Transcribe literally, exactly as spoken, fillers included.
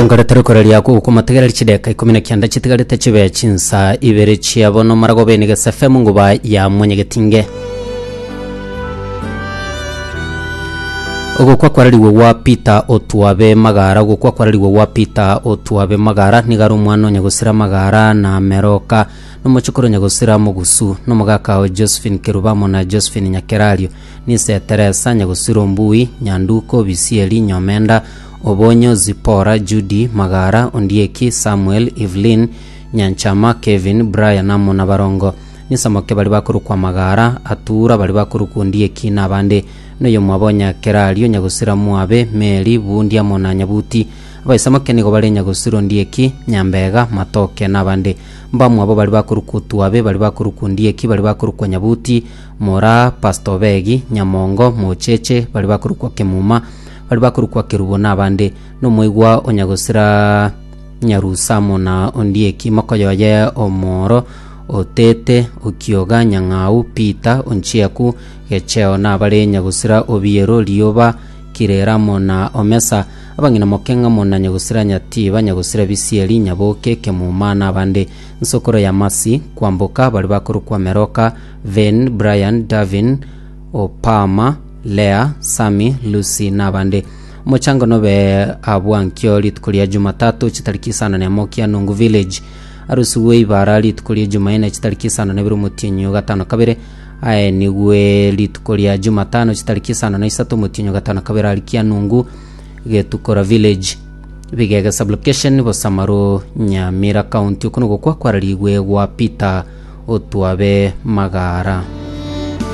Nkoretera okoraria gokomotegerera chideka ikomi na kianda chitigarete chibe chinsa ibere chiabo nomara gobe niga F M nguba ya mwenyegetinge. Ogokwa kwarariwe gwa Peter Otwabe Magara. Ogokwa kwarariwe gwa Peter Otwabe Magara, nigo ari omwana onyagosira Magara na Meroka, nomochokoro nyagosira Mogusu, nomogaka o Josephine Kerubamo na Josephine Nyakerario, nise Teresa nyagosira Ombui, Nyanduko, Bisieri, Nyomenda, Obonyo, Zipora, Judy Magara, Ondieki, Samuel, Evelyn Nyanchama, Kevin, Brian amo na Barongo, nisamoke bari bakorokwa Magara, Atura, bari bakorokwa Ondieki na abande, noyo mwabo Nyakerario, nyagosira Mwabe, Mary, Bundi amo na Nyabuti. Abaisamoke nigo bari nyagosira Ondieki, Nyambega, Matoke na abande. Mbamwabo bari bakorokwa Otwabe, bari bakorokwa Ondieki, bari bakorokwa Nyabuti, Mora, Pastor Begi, Nyamongo, Mocheche, bari bakorokwa Kemuma, bari bakorokwa Kerubo na abande, nomoigwa onyagosira Nyarusamo na Ondieki, mokoyoye Omoro, Otete, Okioga, Nyang'au, Peter, Onchiaku, Gecheo na abare nyagosira Obiero, Rioba, Kireramo na Omesa, abang'ina mokeng'amo na nyagosira Nyatiba, nyagosira Bisieri, Nyaboke, Kemuma na abande, nsokoro ya Masi, Kwamboka, bari bakorokwa Meroka, Ven, Brian, Davin, Opama, Lea, Sami, Lucy na abande. Omochango nobe abwankio rituko ria Jumatatu chitariki isano na emo Kianungu village, arusiwe ibara rituko ria Jumaine chitariki isano na ibere omotienyi gatano kabere, aye nigwe rituko ria Jumatano chitariki isano na isato omotienyi gatano kabere ari Kianungu Getukora village, Bigega sublocation, Bosamaro, Nyamira county. Okuno gokwa kwararigwe gwa Peter Otwabe Magara.